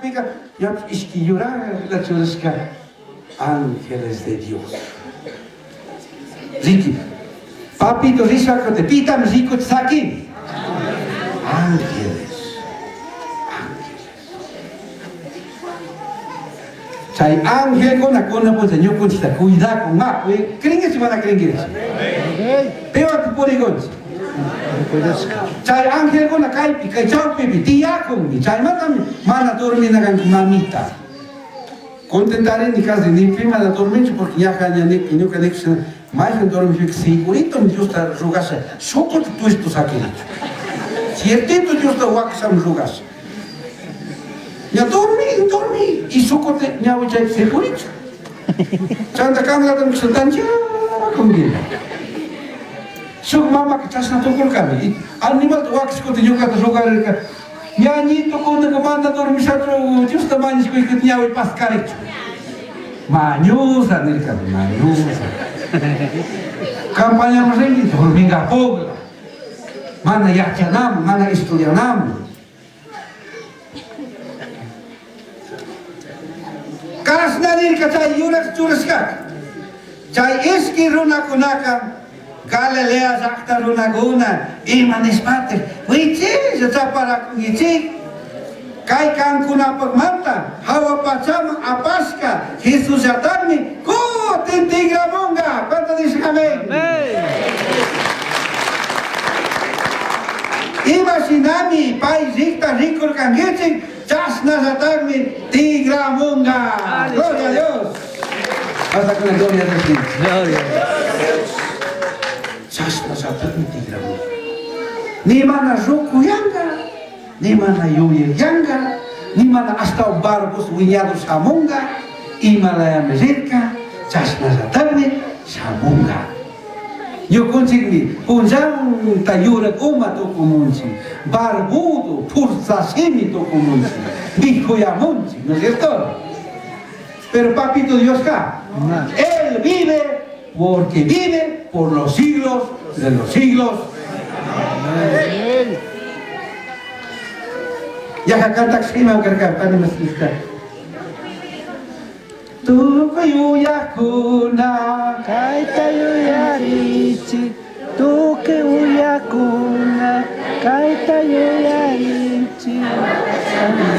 Wakashpika ñapish ishki yuraqla churashka ángeles de Dios. Riki, papito rishaka pitami rikuchi sakin. Ángeles. Ángeles. Chay angelkuna kunan puncha ñukunchikta cuidakun ma, ¿Creenkichik mana creenkichik? Piwan purikunchik? Chay angelkuna kaypi, kay chawpipi tiyakunmi, chaymantami mana dormina kanki mamita. Contentarini casi ni pi mana dorminchu porque ñaja ña ñuka nikushina mayhan dormishpika seguritomi Diosta rugasha shukuta tuishtu sakirichu. Ciertito Diosta wakashami rugasha. Ña dormi, dormi y shukuta ñawi chaypi segurito. Chanta kanlata nikushina tanchakunki. Shuk mamaka chashna tukurkami. Animalta wakashkuta ñukata rugarirka. Ñañito kunaka mana dormishachu Diosta mañashkuykuta ñawi paskarichu. Mañusa nirkami, mañusa. Campañaman rinki dormingapukla. Mana yachanaman, mana estudianaman. Kashna nirka chay yurak churashkaka. Chay ishki runakunaka Galilea llaqta runakuna ima nishpatik wichilla chaparakunkichik kay kankunapaqmanta hawa pachaman apashka Jesusllataqmi kutin tigramunqa. ¿Cuánto dicen amén? Ima shinami pay rikta rikurkankichik chashnallataqmi tigramunqa. Gloria a Dios. Hasta con la gloria de Dios. Gloria a Dios. Chashnallataqmi tigramunqa. Ni mana rukuyanqa, ni mana yuyayanqa, ni mana hasta barbos wiñado shamunqa, imalayami rirka, chashnallataqmi shamunqa. Ñukunchikmi punllanta yurak uma tukumunchik, barbudo, furzashimi tukumunchik, viejoyamunchik, ¿no es cierto? Pero papito Dios ka, Él vive porque vive por los siglos de los siglos. Amén. Ya cantak ima karka pani maslista. Tukuy uyakuna Kayta yuyarichik, tukuy uyakuna, kayta yuyarichik.